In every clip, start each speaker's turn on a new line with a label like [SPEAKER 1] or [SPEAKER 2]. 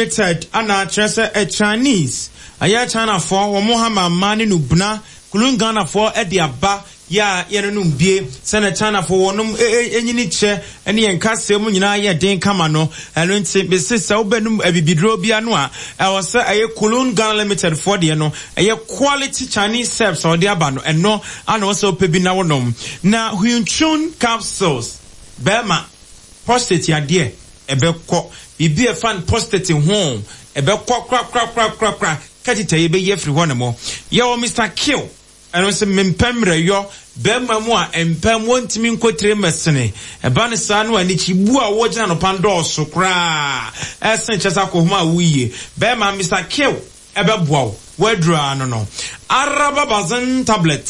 [SPEAKER 1] Limited ana kyerɛ sɛ ɛ Chinese ɛyɛ Chinafoɔ wɔn hama mmaa ne nubena kulun Ghanafoɔ de aba yɛ a yɛnonom bie sɛnɛ Chinafoɔ wɔnom nyini kyɛ ne yɛn kaseɛ mu nyinaa yɛ den kama no ɛno nti mese sɛ wobɛnum abibiduro bia no a ɛwɔ sɛ ɛyɛ Kulun Ghana Limited foɔ deɛ no ɛyɛ quality Chinese herbs a wɔde aba no ɛno ana wɔ sɛ wopɛ bi na wonom na Huichun capsules bɛrima Prostate yadeɛ, ɛbɛkɔ. Biribi a ɛfa no prostate ho, ɛbɛkɔ korakorakorakorakora. Catheter yɛbɛyi afiri hɔ nom. Yɛwɔ Mister Kill, ɛno nso mempɛ mmerɛyɔ. Barima mu a mpɛm wɔntumi nkɔtire mmɛsene. Ɛba no saa no a, anikyibuo a wɔgyina no pan dɔɔso koraa ɛsen kyɛ sɛ akɔhoma a woyie. Barima, Mister Kill ɛbɛboa wo. W'aduru ara no no. Arababazin tablet.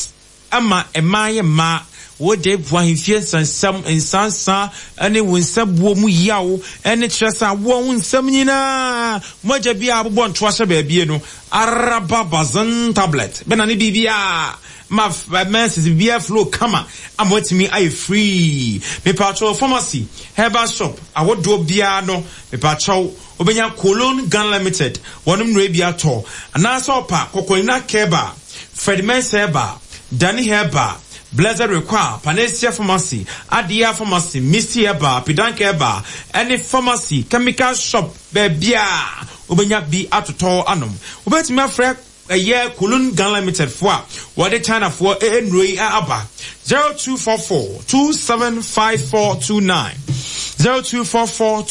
[SPEAKER 1] Ɛma mmaa yɛ mmaa. Wode po ahemfie nsɛnsɛm, nsansa ne wo nsabuo mu yaw ne kyerɛ sɛ awoɔ ho nsɛm nyinaa mogya bi a abobɔ ntoa hyɛ baabie no araba bazin tablet bɛna ne biribiara ma menses biribiara flow kama ama watumi ayɛ free. Mepaakyɛw pharmacy, herbal shop ahodoɔ biara no mepaakyɛw Wobɛnya Colon Ghana Limited wɔnom nnuro bi atɔ anaasɛ ɔpa Kɔkɔlina Kɛba, Fred Mensah Herbal, Danny Herbal, Blessed Require, Panacea Pharmacy, Adia Pharmacy, Misty Herbal, Pidank Herbal ɛne Pharmacy Chemical Shop baabiara wobɛnya bi atotɔ anom. Wobɛtumi afrɛ Ɛyɛ Kulun Ghana Limited foɔ a wɔde China foɔ nnuro yi aba. 0244 275429 0244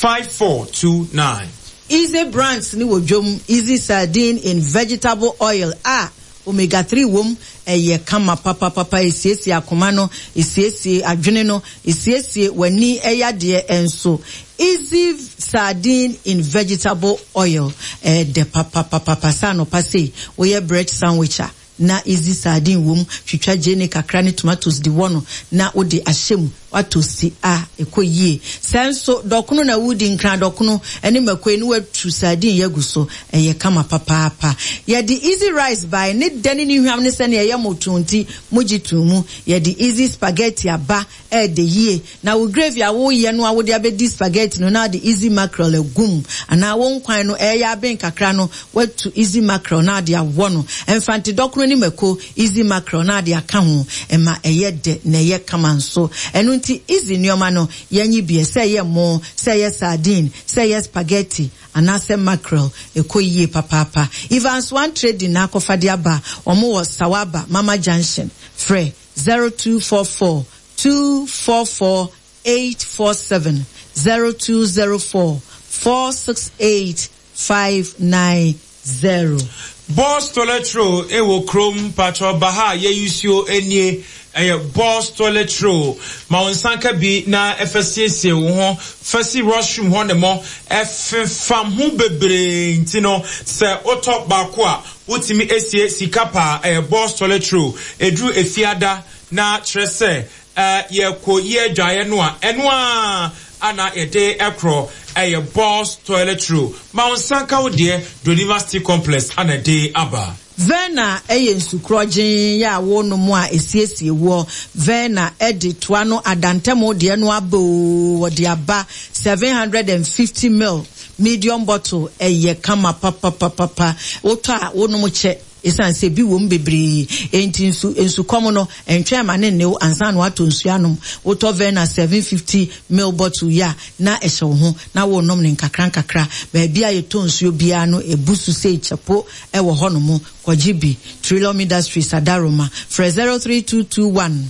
[SPEAKER 1] 275429.
[SPEAKER 2] Easy Brands no wɔ dwom, Easy Sardine in Vegetable Oil a Omega 3 wom, ɛyɛ kama papapapa, ɛsiesie akoma no, ɛsiesie adwene no, ɛsiesie w'ani yadeɛ nso. Easy Sardine in Vegetable Oil, ɛyɛ dɛ papapapapa sɛ anɔpa sei woyɛ bread sandwich a, na easy sardine wom, twitwa gyeene kakra ne tomatoes de wɔ no na wode ahyɛ mu, woatosti a, ɛkɔ yie. Sɛ nso dɔkono na woredi, nkran dɔkono ne mako yi na woatu sardine yi agu so, ɛyɛ kama papaapa. Yɛde easy rice bae, ne dɛ ne ne hwam ne sɛnea ɛyɛ mo too nti mogye too mu. Yɛde easy spaghetti aba, Ɛyɛ dɛ yie. Na wo gravy a woreyɛ no a wode abɛdi spaghetti no na wode easy mackerel agu mu anaa wo nkwan no ɛreyɛ aben kakra no woatu easy mackerel na wode awɔ no. Mfante dɔkono ne mako, easy mackerel na wode aka ho. Ɛma ɛyɛ dɛ na ɛyɛ kama nso. Ɛno nti easy nneɛma no yɛnye bi ɛ, sɛ ɛyɛ mmo, sɛ ɛyɛ sardine, sɛ ɛyɛ spaghetti anaasɛ mackerel, ɛkɔ yie papaapa. Evans One Trading na akɔfa de aba. Wɔn wɔ Sawaba, Mama Junction. Frɛ 0244 244 847 0204 468 590.
[SPEAKER 1] Boss toilet roll ɛwɔ krom patrɔ baha yɛ usuo nie ɛyɛ boss toilet roll ma wo nsa nka bi na ɛfɛ siesie wo ho fɛ si restroom hɔ ne mɔ ɛfefam ho bebree nti no sɛ wotɔ baako a Wotumi sie sika paa, ɛyɛ boss toilet roll, ɛduru efiada na kyerɛ sɛ yɛkɔ yi adwaeɛ no a, ɛno ara ana yɛde korɔ, ɛyɛ boss toilet roll. Ma wo nsa nka wo deɛ, Doniva Steel Complex ana ɛde aba.
[SPEAKER 2] Verna yɛ nsu korɔgyenn yɛ a wonom a ɛsiesie woɔ. Verna de toa no adantamu deɛ no aba oo, wɔde aba 750 mil. Medium bottle ɛyɛ kama papapapapa. Wotɔ a wonom kyɛ esiane sɛ ebi wom bebree enti nsu nsukɔm no ɛntwɛn ma ne nne wo ansa na woatɔ nsuo anom. Wotɔ Verna 750 ml bottle yi a na ɛhyɛ wo ho na worenom no nkakra nkakra. Baabi a yɛtɔ nsuo biara no ɛbu so sei kyɛpo wɔ hɔnom. Kɔgye bi. Trillium Industries Adaroma. Frɛ 03221.